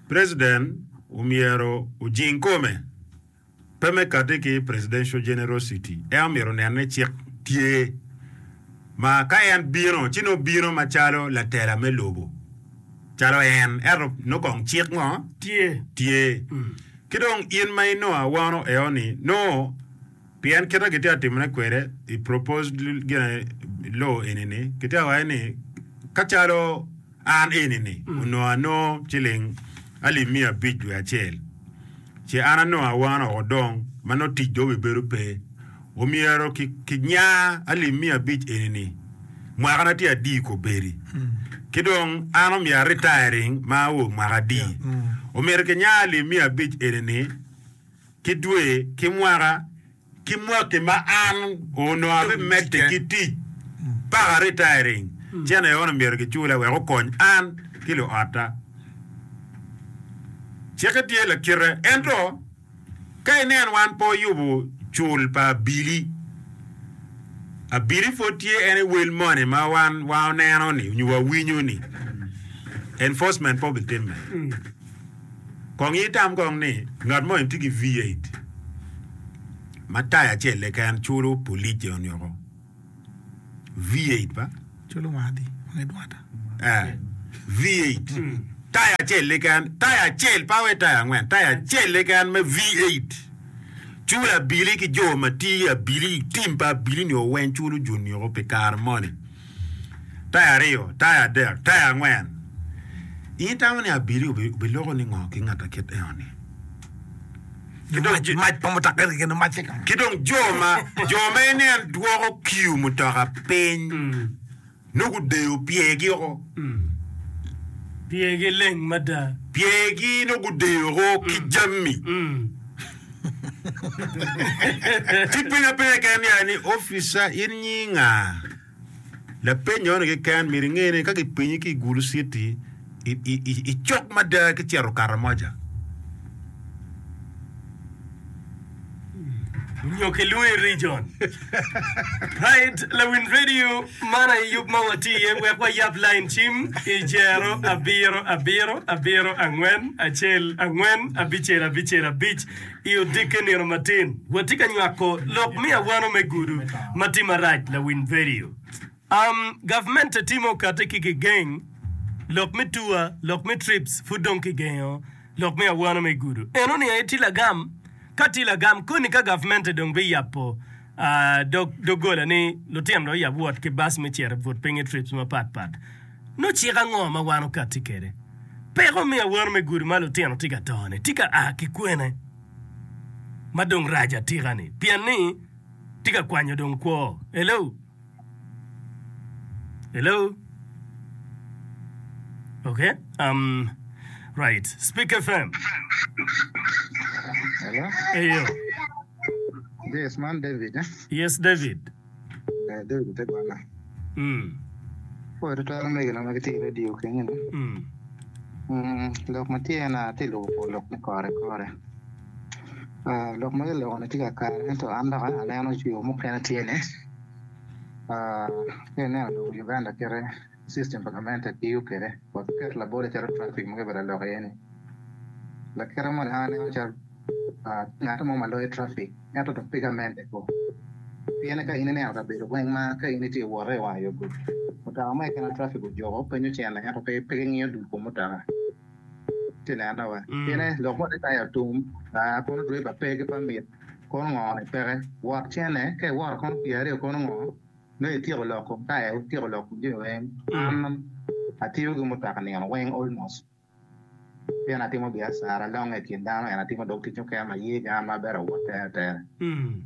president omyero ojing kome. Pe me kati ki presidential generosity, en omyero onen ni cik tye ma ka en bino ci nongo bino macalo latela me lobo calo en ento nongo kong cik ngo Tye. tye. Ki dong in ma inongo awano eo ni nongo pien kite gitye ka timone kwede i proposed gine law eni ni kitye ka waco ni ka calo An eni-ni onongo anongo ciling alip miya abic dwe acel, ce an anongo awano woko dong ma nongo tic dong obibedo pe. Omyero kinya alip miya abic eni-ni mwakana tye adi kobedi, ki dong an omyero aritayaring ma ao mwaka adi. Omyero kinya alip miya abic eni-ni ki dwe ki mwaka. Ki mwaki ma an onongo abimedde ki tic paka retiring, cene ono myero gicula wek okony an ki luotta. Cikke tye lakite, ento ka inen wan pe oyubo cul pa abili, Abili pud tye en i wel moni ma wan waneno ni nyo wawinyo ni enforcement pe obitimme. Kong itam kong ni ngat moni tye ki V eight ma taya acel keken culo police onyoko V eight ba? Culo wang adi? Wang idwata. Eh, V eight. Taya acel keken, taya acel pa we taya angwen, taya acel keken me V eight. Culo abili ki jo ma tye abili, tim pa abili ni oweng culo jo niko pi kare moni. Taya aryo, taya adek, taya angwen. In itamo ni abili obiloko ni ngo ki ngat akit eno ni? Ki dong Mac, mac pa mutoka keken mac ka. Ki dong jo ma, jo ma inen dwoko kiu mutoka piny, nongo gudeyo pyergi oko. Pyergi leng mada. Pyergi nongo gudeyo oko ki jami. Ci peny apenya keken ni, ni officer in nyi nga? Lapeny eno keken myero inge ni ka gipenyi ki i Gulu City icok mada ki cito Karamoja. Nyo kilwongo i region. Right, Lawin Radio, man aye yub ma watye iye wek wayab line cim i jero abiro abiro abiro angwen acel angwen abicel abicel abic i odikke nino matin. Watye ka nywako lok me awano me gudo ma tye marac, Lawin Radio. Um, gavmente timo okate ki gigeng lok me tour, lok me trips pud dong kigengo lok me awano me gudo. Eno ni aye tye lagam. Ka tye lagam, koni ka gavmente dong biyabo uh, dog doggola ni lutino dong oyab wot ki bus me cito i but piny i trips mapat pat. Nongo cik ango ma wan okati kwede? Peko me awano me gudo ma lutino tye ka to-ni tye ka a ki kwene ma dong rac atika-ni? Pien ni tye ka kwanyo dong kwo. Hello? Hello? Okay. Um, right. Speak F M. Hello? Eyo. Yes, man David. Eh? Yes, David. Eh, David Tegwana. Mm. Poi tutwal mege na ma gitye i radio kenyo ni. Mm. Mm, lok ma tye na atye lubo lok me kore kore. Ah, lok ma giloko ni tye kakare ento an dok aneno yo mukene tye ni. Ah, ka ineno lobo Uganda kite system pa gamente tiyo kwede. Wa ket labol calo traffic ma kibedo lok iye ni. Lakite moni an aneno calo ah, ngat mo ma loyo traffic ento dok pe gamente ko. Pien ka in ineno kabedo weng ma ka in itye wote i wang yo gudo. Mutoka mo keken traffic ojoko penyo cene ento pe pe gingiyo dul kom mutoka. Tye neno wa. Pien lok mo tye atum, ah, kono driver pe ki permit, kono ngo ni peke. Wot cene, ka iwoto kono pyeraryo kono ngo, nongo ityeko lok kom taya, ityeko lok kom jami weng. An atiyo ki mutoka nino weng almost. Pien atimo biacara longe i kin dano, en atimo dog tic mukene ma ye ki an maber awot tere tere. Mm.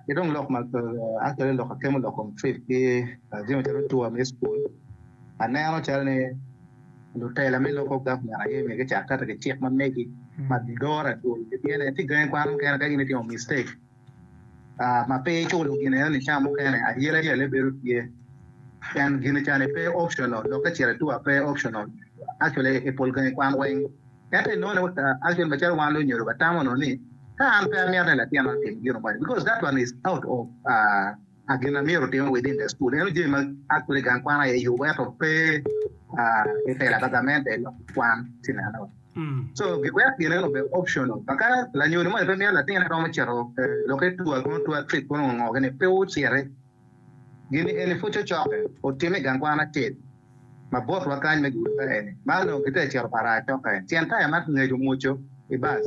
Ki dong lok ma actually lok akemo lok kom trip ki jami calo tour me school. Aneno calo ni lutela me local government aye myero gicak keto ki cik ma megi ma doro adwol. Pien tye gangi kwan mukene ka in itimo mistake, ah, ma pe iculo gin eno ni ca mukene ayela ayela bedo tye. Pien gin cani pe optional, lok ka cito i tour pe optional. Actually i pol gangi kwan weng. Ento inongo ni, ah, actually macalo wan lunyodo watamo no ni ka an pe amito ni latin otim gino moni, because that one is out of, ah, gin ma myero otime within the school. Eno jami ma actually gang kwan aye yubo ento pe, ah, i tela pa gamente lok kwan tye neno. Mm. So giwek gin eno obed optional. Ma ka lanyodo moni pe mito latine romo cito, eh, lok i tour, kono tour trip kono ngo gini pe ociti. Gini eni pud cocoke otime i gang kwan acel ma botwa kany me gudo ka eni. Ma onongo gitye ka cito para acokke. Tyen taya ma ngec omwoco i bus.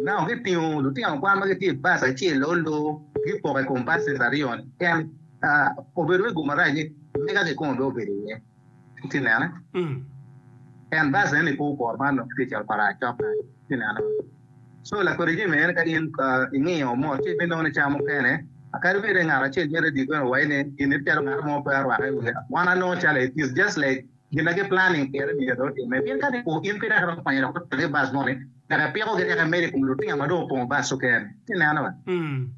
Now gitingo lutino kwan ma gitye i bus acel olo gipoko i kom buses aryo ni. En, ah, obedo me gum marac ni mega kikome be obedo iye. Tye nene? Mm. En bus eni pe oporo ma onongo gitye ka cito para acokke. Tye nene? So lakwede jami eni ka in, ah, ingiyo mot ci ibinongo ni ca mukene kadi bed ni ngat acel me radio bene owaco ni gin ni calo ngat mo pe arwako i wiye. Wan anongo calo it is just like gin na gi planning pire myero otime. Pien ka ni in pe dok iromo kwanyo dok otere i bus moni, dok ipiko gi dok imedo i kom lutino ma dong opongo bus okene. Tye neno ba? Mm.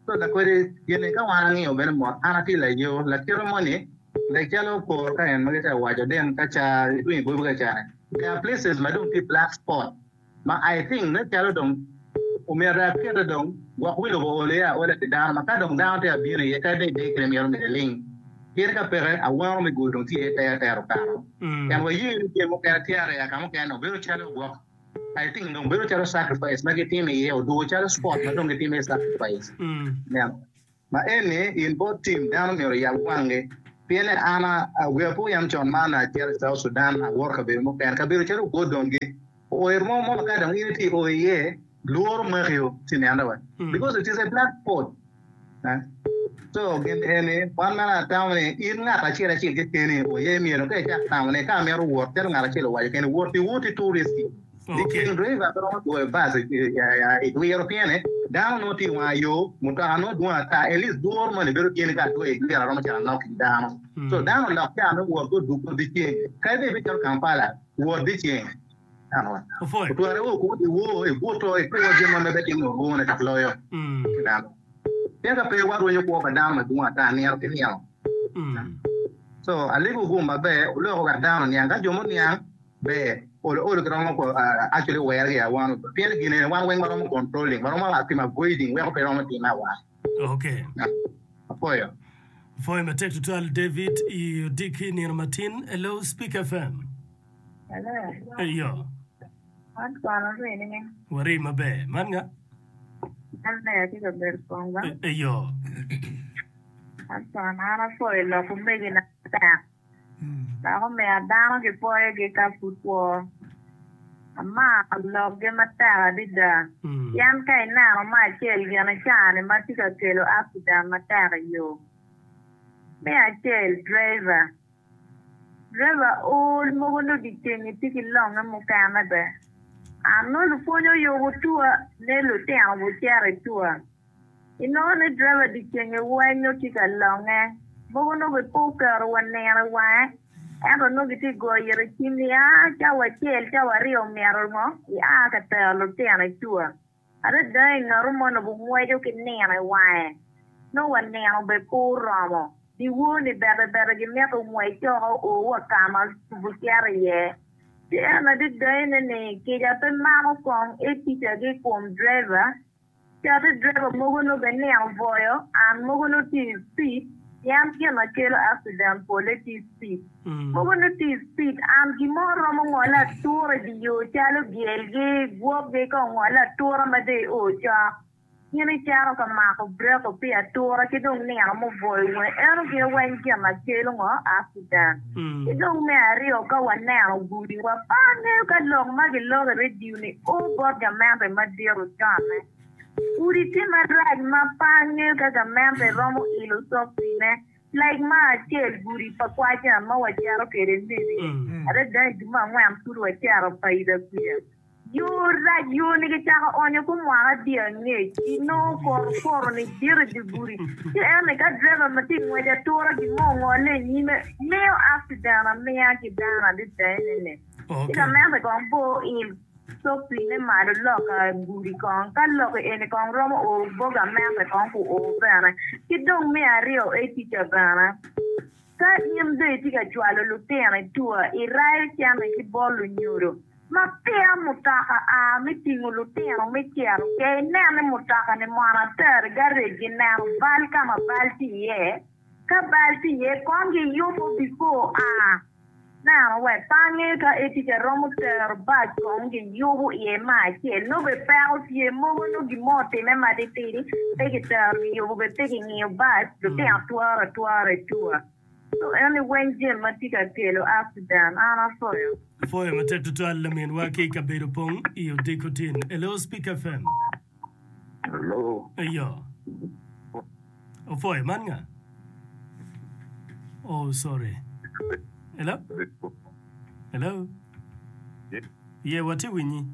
So lakwede gin ni ka wan angiyo bene mot, an atye layo, lakite moni, like calo kor ka en ma gitye ka waco den ka ca itwinyo gobi ka ca-ni. There are places ma dong tye black spot ma I think ne calo dong Omyero akete dong gwok wi lobo olo ya aola pi dano ma ka dong dano tye abino iye kadi bed idek kene myero omede ling. Pien ka peke, awano me gulu dong tye iye pe atero okato. Pien waye ni jami mukene tye areya ka mukene dong bedo calo gwok I think dong bedo calo sacrifice ma gitimo iye odwogo calo sport ma dong gitimo iye sacrifice. Neno. Ma eni in bot team dano myero oyab wangi. Pien ni an a wiya pe oyam con ma an acito i South Sudan awoto kabedo mukene kabedo calo Gordon gi oer mo mo ma ka dong in itye i o iye lworo maki o ci nene wa because it is a black spot. Eh? So gin eni wan meno atamo ni in ngat acel acel kekeni oye myero ka icak tamo ni ka amito wot calo ngat acel owaco keni wot iwoti too risky. Okay. Diceng driver pe romo dwoyo bus i dwiro piene dano nongo tye i wanga yo mutoka nongo dwong ata at least dworo moni bedo tye ni ka adwoyo i dwiro aromo cito anok ki dano. So dano olok ca me wot gudugo diceng kadi bed ibicito Kampala wot diceng. Dano Opwoyo. otwere o kwo dyewor ibuto ikwo jami ma pe timo orwone dok loyo ki dano. Pien ka pe warwenyo kwo pa dano madwong ata nino ki nino. So alego gum maber oloko wek dano oniang ka jo muniang ber olo olo giromo ko actually were gi awan pien gin eni wan weng waromo controlling waromo timo avoiding weko pe romo time awan. Okay. Apwoyo. Apwoyo matek tutwal David i odiki nino matin. Hello Speak F M. Hello. Eyo. An kono rini ni. Wari maber. Man nga? An ber atye ka bedo kong ba. Eyo. An kono an apwoyo lok omegina matek. Dok omiyo dano gipwoyogi ka pud kwo. Amaro lokgi matek adada. Pien ka ineno me acel gin i caa-ni ma tye ka kelo accident matek i yo. Me acel, driver. Driver ol mogo nongo dyeceng tye ki longe mukene bene. An nongo lupwony oyubo tua ni lutino gucito i tua. Inongo ni driver dyeceng weng nongo tye ka longe. Mogo nongo pe oketo wa nino i wange ento nongo gitye ka goyo ite cim ni aa cawa acel cawa aryo myero ngo ia ka tero lutino i tua. Adada i ngat mo nongo bungweco ki nino i wange nongo wa nino bene pe oromo. Dyewor-ni bete bete gimito ngwec coko o wa ka ma gucito iye. Ci en adada ene ni kica pe mako kong eticagi i kom driver. Cati driver mogo nongo bene nino bwoyo an mogo nongo tye i speed pien gin ma kelo accident pole tye i speed. Mogo nongo tye i speed an gin mo romo ngole atura i dye yo calo gyelgi, gwokgi ka ongole atura ma dong io cok. In icito ka mako breko pi atura ki dong nino mubwoyo weng eno gin weng gin ma kelo ngo accident. Ki dong me aryo ka waneno gudiwa pe angeyo ka lok ma giloko i radio ni o bot gamente madit oconne. Gudi tye marac ma pe angeyo ka gamente romo ilo cokcine like ma acel gudi pa kwacan ma wacito kwede Nebi adada i dwe me angwen pud wacito paida kuca. Yo rac yo ni gicako onyo ku mwaka adi angec inongo koto poto ni dit i dye gudi ci en ni ka driver ma tye ngwec atura gin mo ongole i nyime miyo accident amiya ki dano adada ene ni ci Okay. gamente kong bo il cokcine malo loka gudi kong ka lok eni kong romo o bo gamente kong ku o bene ki dong me aryo e tica bene ka in dong itye ka cwalo lutino i tua irayo cente ki bot lunyodo ma peya mutoka a me tingo lutino me cito ke inen ni mutoka ni mono atero i garage gineno bal ka ma bal tye iye ka bal tye iye kong giyubo before a neno we pe angeyo ka etica romo tero bac kong giyubo iye me acel nongo be peko tye mogo nongo gin mo otime matitidi pe gitero giyubo be pe gingiyo bac lutino twaro atwara i tua. So en ni weng jami ma tye ka kelo accident an apwoyo. Apwoyo matek tutwal laminwa ki i kabedo pong i odiko tin. Hello Speak F M. Hello. Eyo. Opwoyo man nga? Oh sorry. Hello? Hello? Ye watye winyi.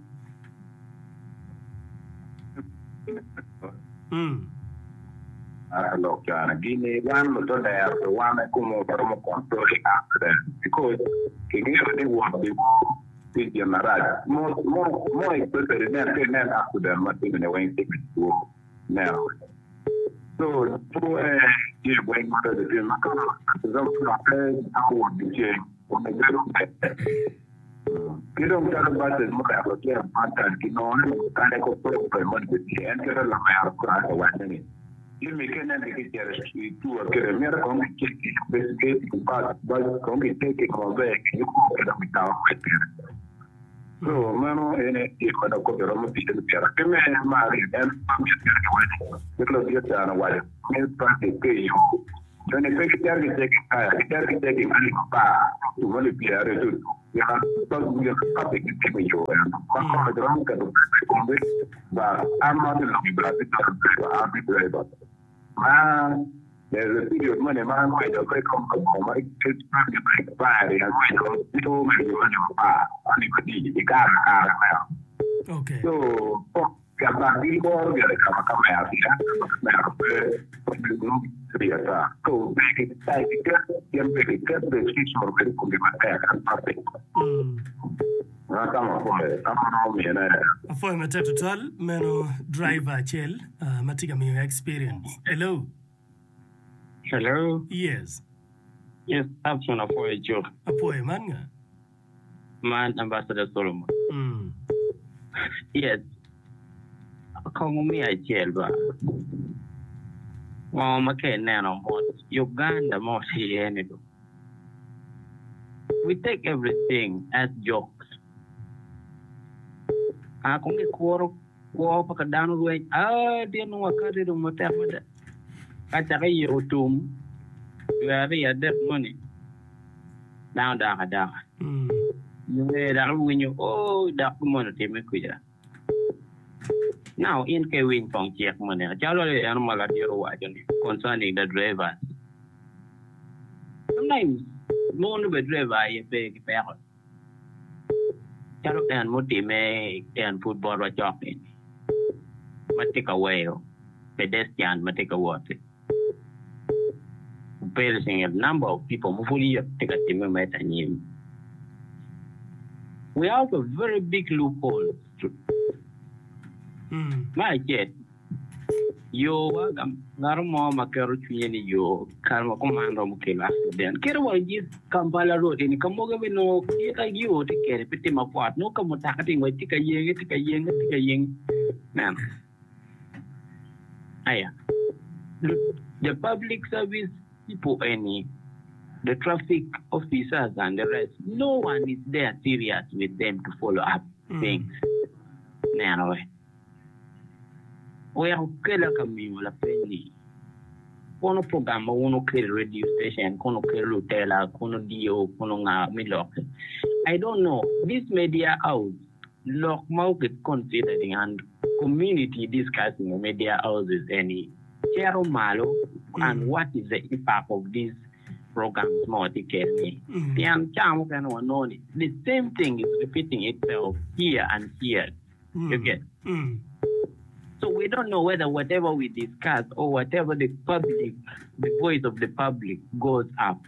Mm. Lok cana gini wan lutodero pe wan kumo waromo control accident because kingeyo ni wot tye gin marac mo mo especially nen ka inen accident ma timine weng time two neno so two eh tye weng ma raco tye ma ka example pe wot dyeceng obedo ber. Ki dong calo buses muweko lutino kwan kinongo ni kade ko pe moni be tye en kite lamero kore owaco ni jami ka inen ki kicito i tour kede myero kong gicek investigate bus bus kong gicek maber giyubo kede mutoka ngwec kede so meno ene gik ma dok kopi romo ticce ni pire ki me mar aryo en myero giwaco kit ladit can owaco ni traffic ki i yo joni pe gicito giceki taya gicito giceki alip apar tumo alip pyeraryo ci otum traffic gitimo i yo eno ma kono giromo keto pesa i komgi but I'm not a lobby but I'm a driver I'm a driver ma there's a period moni ma angweco ka ikom ka boma ma traffic expire angweco two me yo alip apar alip abic i kare akara meno Okay. so ka gilworo gire ka ma kamera tye ka kamera pe ata so pe giket gin pe giket restriction obed i komgi matek and traffic Mm. ma kama apwoyo kama romo mine Apwoyo matek tutwal meno driver acel uh, ma tye ka miyo experience. Hello. Hello. Yes. Yes, Abson apwoyo cuk. Apwoyo man nga? Man Ambassador Solomon. Mm. Yes. Kong miyo acel ba. Ngo ma ka ineno mot Uganda mo tye iye ni do. We take everything as jokes. Ah, kong gikuro kwo pa ka dano rweny. Ah, din wakati dong matek matek. Ka cako yiko tum, dwe aryo adek moni, dano dok adaka. Mm. Nge dok iwinyo, oh, dok moni otime kuca. Now, in ka iwiny kong cik moni, calo en ma ladit owaco ni concerning the drivers. Sometimes, mono be driver aye pe ki peko. Calo en mutime en pud botwa cok ni ma tye ka weyo pedestrian ma tye ka wot perishing a number of people ma pud yot tye ka time mere anyim. We have a very big loophole. Mm. Ma acel, yo wa ngat mo ma keto cwinye ni yo kare ma kuman romo kelo accident. Kede wa i Kampala road eni ka mogo bene nongo kita yo tye kede pe tye mapwot nongo ka mutoka tye ngwec tye ka yenge tye ka yenge tye ka yenge. Neno. Aya. The public service people eni, the traffic officers and the rest, no one is there serious with them to follow up things. Neno we. Weko kela ka miyo lapeny ni kono program ma wun okelo radio station kono okelo lutela kono dio kono nga mi lok I don't know this media house lok ma oket considering and community discussing media houses eni cero malo and what is the impact of these programs ma watye kede Mm. pien ca mukene wanongo ni the same thing is repeating itself here and here you Mm. get Mm. So we don't know whether whatever we discuss or whatever the public, the voice of the public goes up.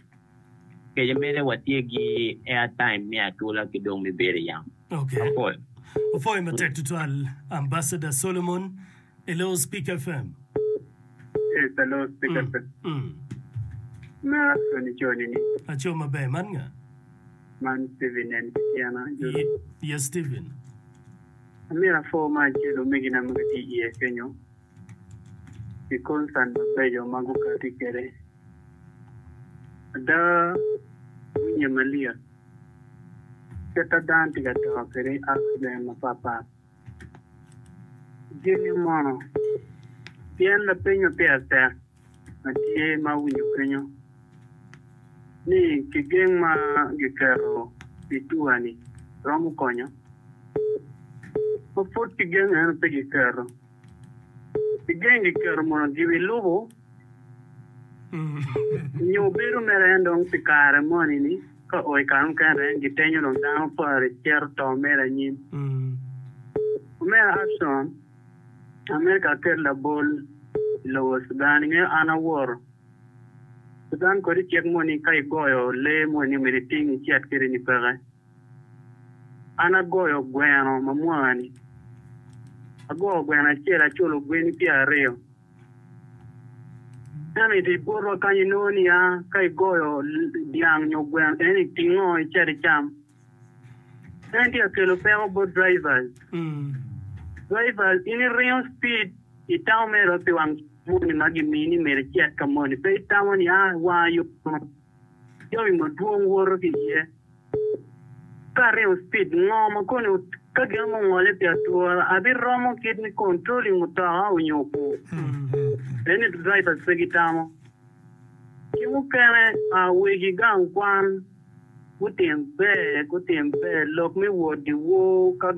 Kaya mere watye gi airtime me atula ki dong mi bedo yam. Okay. Apwoyo. Apwoyo matek tutwal Ambassador Solomon. Hello Speak F M. Yes, hello, Speaker. Mm. Mm. Na Tony Choni ni Aco maber man nga? man Steven en Kitiana. Ye- Yes, Stephen. Amira fo ma acel omegina ma gitye iye kenyo pi concern mabeco ma gukati kwede. Ada winyo malyet kit ma dano tye ka to kwede accident mapatpat. Jami mono pien lapeny ma pire tek ma tye ma awinyo kenyo ni kigeng ma giketo pi tua-ni romo konyo ma pud kigeng eno pe giketo kigeng giketo mono gibilubo Mm. nyo bedo mere en dong pi kare moni ni ka o i kare mukene en gitenyo dong dano pare cito to mere anyim Mm. Omera Abson Amerika aket labol i lobo Sudan ingeyo an aworo Sudan kodi cik moni ka igoyo lee moni myero iting icit kede ni peke an agoyo gweno ma mwani agoyo gweno acel aculo gweni pyera aryo ento i botwa kany inongo niya ka igoyo dyang nyo gweno eni itingo icit icam En tye ka kelo peko bot drivers. Drivers in iringo speed itamo mere pi wang moni ma gimini myero icit ka moni pe itamo ni ah wanga yo jami madwong woto ki iye. Ka aringo speed ngo ma koni ka gin mo ongole pi atura abiromo kit me controlling mutoka onyo okur. Eni drivers pe gitamo. Ki mukene wegi gang kwan gutim ber gutim ber lok me wot dyewor ka